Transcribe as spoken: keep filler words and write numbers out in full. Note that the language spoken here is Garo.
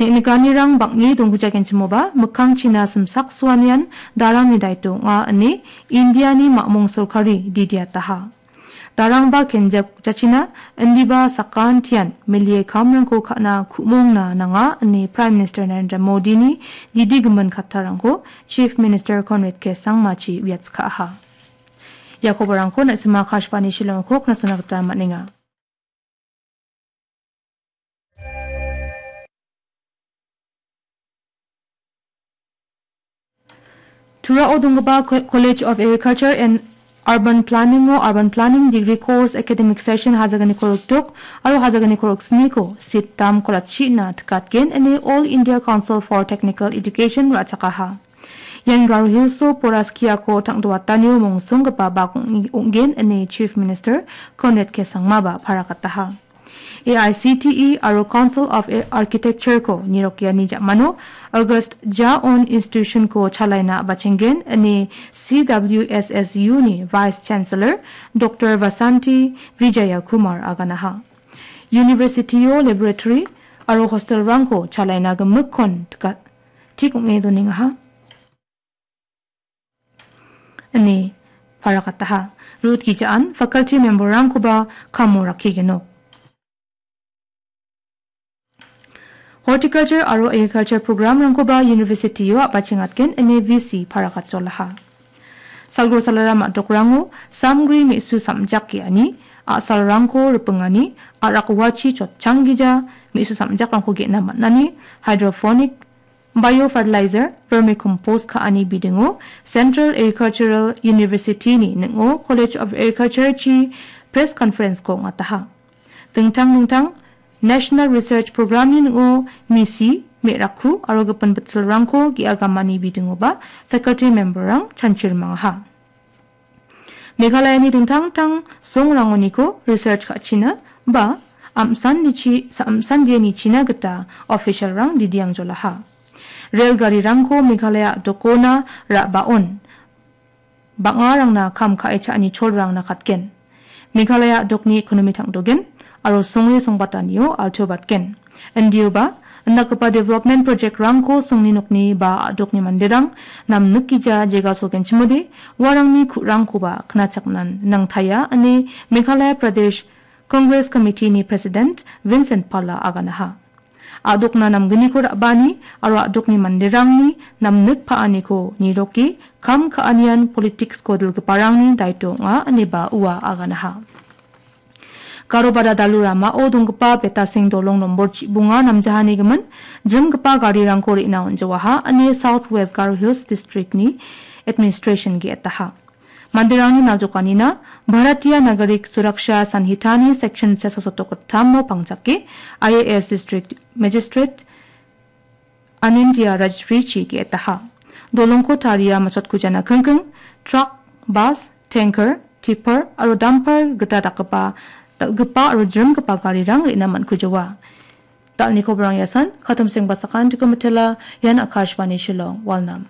Nikanirang bang·e donggujagenchimoba, mikkangchina simsak suanian darangni daito ong·a ine Indiani mamung sorkari didiataha. Darangba kenjak jachina, indiba sakantian melie kamrangko ka·na ku·mongna nanga ine Prime Minister Narendra Modini didigimin kattarangko Chief Minister Conrad K Sangmachi uiatskaaha. Ia koborangko na·sima Akashvani Shillongko knasona gita man·enga. Turao donggipa Co-, College of Agriculture and Urban Planning-o Urban Planning Degree Course Academic Session hajagni korokdok aro hajagni koroksniko seat dam kolatchina tikatgen ine All India Council for Technical Education ra·chakaha. Ian Garo Hills-o Poraskiako tangdoatanio mongsonggipa bak ong-, ong·gen ine Chief Minister Conrad K Sangmaba parakataha. A I C T E aro Council of Ar-, Architecture-ko nirokiani ja·mano August Jaon Institution-ko chalaina a·bachenggen ine C W S S U-ni Vice Chancellor Doctor Vasanti Vijayakumar aganaha. University-o laboratory aro hostel-rangko chalaina gimikkon tika-, tik ong·e donengaha. Ine parakataha. Ruth Gijaan faculty member-rangkoba kamo rakkigenok. Horticulture aro agriculture program-rangkoba university-o a·bachengatgen ine V C parakatjolaha. Salgro salara ma·dokrango samgri me·su samjak ge·ani a·salrangko ripengani a·rak uachi chotchanggija me·su samjakrangko ge·na man·ani hydroponic biofertilizer, vermicompost ka·ani bidingo Central Agricultural University-ni ning·o College of Agriculture-chi press conference-ko ong·ataha. Dingtang dingtang National Research Program-ni ning·o misi, me·rakku aro gipin bitsilrangko ge·agamani bidingoba faculty member-rang chanchirmangaha. Meghalayani dingtang dingtang songrangoniko research ka·china ba amsandichi-, sa-, amsandianichina gita official-rang didiangjolaha. Rel garirangko Meghalaya dokona ra·baon bang·arangna kam ka·e cha·ani cholrang nakatgen. Meghalaya dokni ekonomi tangdogen aro songre songbatanio altobatgen. Indioba, indakgipa development project-rangko songni nokni ba a·dokni manderang namnikgija jegasolgenchimode, uarangni ku·rangkoba knachaknan nangtaia ine Meghalaya Pradesh Congress Committee-ni President Vincent Pala aganaha. A·dokna namgniko ra·bani aro a·dokni manderangni namnik pa·aniko niroke kam ka·anian politics-ko dilgiparangni daito ong·a ineba ua aganaha. Garobada dalu ramao donggipa Betasing dolong nombor chibonga namjahani gimin, jrimgipa garirangko re·na on·jawaha ine South West Garo Hills District-ni administration ge·etaha. Manderangni naljokanina Bharatiya Nagarik Suraksha Sanhitani section chasasotok gittamo pangjake I A S District Magistrate Anindya Rajrichi ge·etaha. Dolongko taria machotkujanakingking, truck, bus, tanker, tipper aro dumper gita dakgipa, dal·gipa aro jrimgipa garirang re·na man·kujawa. Dal·ni koborang iasan, Katomseng Basakan Dikomitela, ian Akashvani Shillong, Walnam.